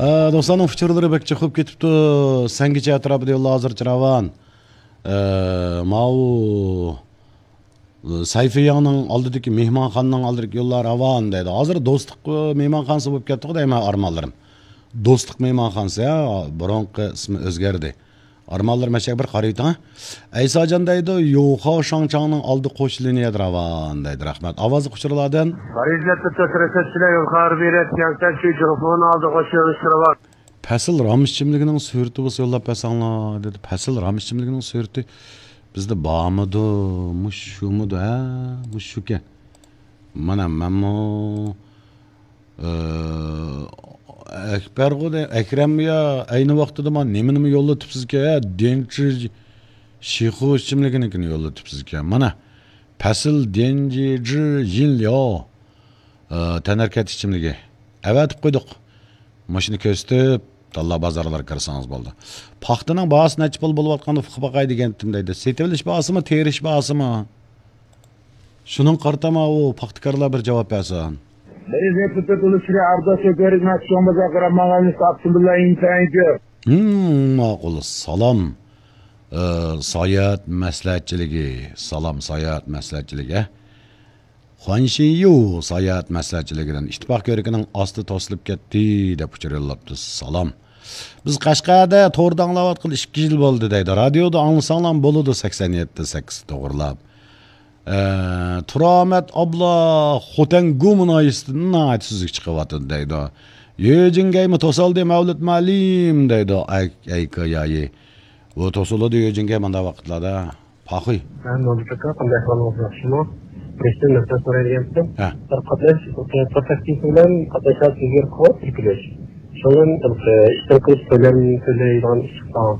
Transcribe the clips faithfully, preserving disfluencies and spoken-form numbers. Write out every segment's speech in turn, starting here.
ئە، دوستلارنىڭ ئۇچۇرلىرى بەك چوقۇپ كېتىپتۇ. سەنگىچە ئەتراپىدا يوللار ھازىرچە راۋان. ئە، ماۋۇ، ئە، سەيفىياڭنىڭ ئالدىدىكى مېھمانخانىنىڭ ئالدىدىكى يوللار راۋان دەيدۇ. ھازىر دوستلۇق، ئە، مېھمانخانىسى بولۇپ كەتتىغۇ دەيمەن ئارمانلىرىم. دوستلۇق مېھمانخانىسى، ھە، بۇرۇنقى ئىسمى ئۆزگەردى. ئارمانلىرىم، مەشەگە بىر قارىۋېتىڭ، ھە. ئەيساجان دەيدۇ، يوخاۋ شاڭچاڭنىڭ ئالدى قوش لىنىيەدە راۋان دەيدۇ. رەھمەت. ئاۋازلىق ئۇچۇرلاردىن. پارىژدە تۆت رەسەت بىلەن يول خەۋەر بېرىپ، تياڭشان شۇ جۇڭخۇنىڭ ئالدى قوش يۆنىلىشى راۋان. پەسىل رام ئىچىملىكىنىڭ سۈرىتى بولسا يوللاپ بەرسەڭلار، دېدى. پەسىل رام ئىچىملىكىنىڭ سۈرىتى بىزدە بارمىدۇ؟ مۇشۇ شۇمىدۇ؟ ھە، مۇشۇ شۇكەن. مانا مەنمۇ، ئە، ئەكبەرغۇ دە-، ئەكرەممۇ يا، ئەينى ۋاقتىدا مانا نېمىنىمۇ يوللىتىپسىزكەن، ھە، دېنچى شىخۇ ئىچىملىكىنىڭكىنى يوللىتىپسىزكەن. مانا، پەسىل دېنجى يىنليو، ئە، تەنھەرىكەت ئىچىملىكى. ئەۋەتىپ قويدۇق. مۇشۇنى كۆرسىتىپ، تاللا بازارلارغا كىرسىڭىز بولدى. پاختىنىڭ باھاسى نەچچە پۇل بولۇۋاتقاندا ئۇقۇپ باقاي دېگەنتىم دەيدۇ. سېتىۋېلىش باھاسىمۇ، تېرىش باھاسىمۇ؟ شۇنىڭغا قارىتا ماۋۇ پاختىكارلار بىر جاۋاب بەرسۇن. بىرى زېپىتى تولۇشىرى ئابدا شوپۇرى ناتشوڭ بازار قاراماغاننى ساپسۇن بىللا ئىنتايىنچۇ. ھىم، ماقۇل. سالام. ئە، ساياھەت مەسلىھەتچىلىكى. سالام، ساياھەت مەسلىھەتچىلىكى. خۇەنشىيۇ ساياھەت مەسلىھەتچىلىكىدىن ئىتتىپاق كۆۋرۈكىنىڭ ئاستى توسۇلۇپ كەتتى دەپ ئۇچۇر يوللاپتۇ. سالام. بىز قەشقەردە توردا ئاڭلاۋاتقىلى ئىككى يىل بولدى دەيدۇ. رادىيودا ئاڭلىساڭلارمۇ بولىدۇ، سەكسەن يەتتە سەككىز توغرىلاپ. ئە، تۇرامەت ئابلا خوتەن گۇ مۇناھىيىسىدىن ناھايىتى سۈزۈك چىقىۋاتىدۇ دەيدۇ. يۆجىڭگەيمۇ توسالدى مەۋلۇت مۇئەللىم دەيدۇ. ئەي، ئەي، كايايى. ئۇ توسۇلىدۇ يۆجىڭگەي مۇنداق ۋاقىتلاردا. پاخۇي. ھە، نۇردەك ئاكا، قانداق ئەھۋالىڭىز ياخشىمۇ؟ بىرىنچىدىن، نەسىھەت سورايدىغانتىم. ھە. بىر قاتناش، ئە، تور تاكسىسى بىلەن قاتناش ھازىر قوت تىركىلىش. شۇنىڭ بىلەن بىر، ئە، ئىشتىن قېلىش تۆلەم تۆلەيدىغان ئىش چىققان.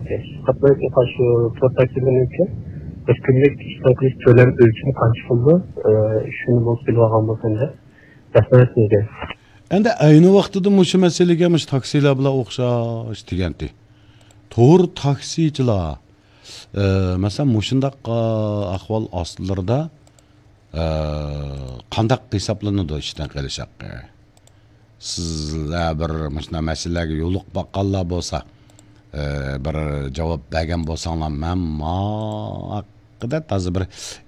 قاتناش، شۇ تور تاكسى بىلەن بىر كۈنلۈك ئىشتىن قېلىش تۆلەم ئۆلچىمى قانچە بولىدۇ؟ ئە، شۇنى بولسا بىلىۋالغان بولسام دەپ. رەھمەت سىزگە. ئەندى ئەينى ۋاقتىدا مۇشۇ مەسىلىگە مۇشۇ تاكسىلار بىلەن ئوخشاش دېگەنتى. تور تاكسىچىلار، ئە، مەسىلەن، مۇشۇنداق، ئە، ئەھۋال ئاستىلىرىدا، ئە، قانداق ھېسابلىنىدۇ ئىشتىن قېلىش ھەققى؟ سىزلەر بىر مۇشۇنداق مەسىلىلەرگە يولۇقۇپ باققانلار بولسا، ئە، بىر جاۋاب بەرگەن بولساڭلار، مەن ما ھەققىدە تازا بىر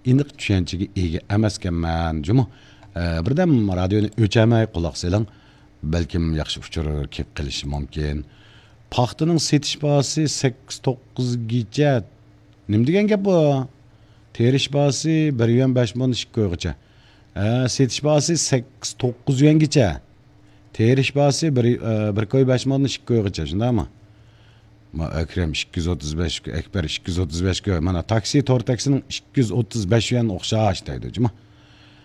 ئېنىق چۈشەنچىگە ئىگە ئەمەسكەنمەن جۇمۇ. ئە، بىردەم رادىيونى ئۆچەرمەي قۇلاق سېلىڭ، بەلكىم ياخشى ئۇچۇر كېلىپ قېلىشى مۇمكىن. پاختىنىڭ سېتىش باھاسى سەككىز توققۇزگىچە. نېمە دېگەن گەپ بۇ؟ تېرىش باھاسى بىر يۈەن بەش مودىن ئىككى كويغىچە. ھە، سېتىش باھاسى سەككىز توققۇز يۈەنگىچە. تېرىش باھاسى بىر، ئە، بىر كوي بەش مودىن ئىككى كويغىچە، شۇنداقمۇ؟ ما ئەكرەم ئىككى يۈز ئوتتۇز بەش، ئەكبەر ئىككى يۈز ئوتتۇز بەش كوي. مانا تاكسى، تور تاكسىنىڭ ئىككى يۈز ئوتتۇز بەش يۈەن ئوخشاش دەيدۇ، جۇمۇ.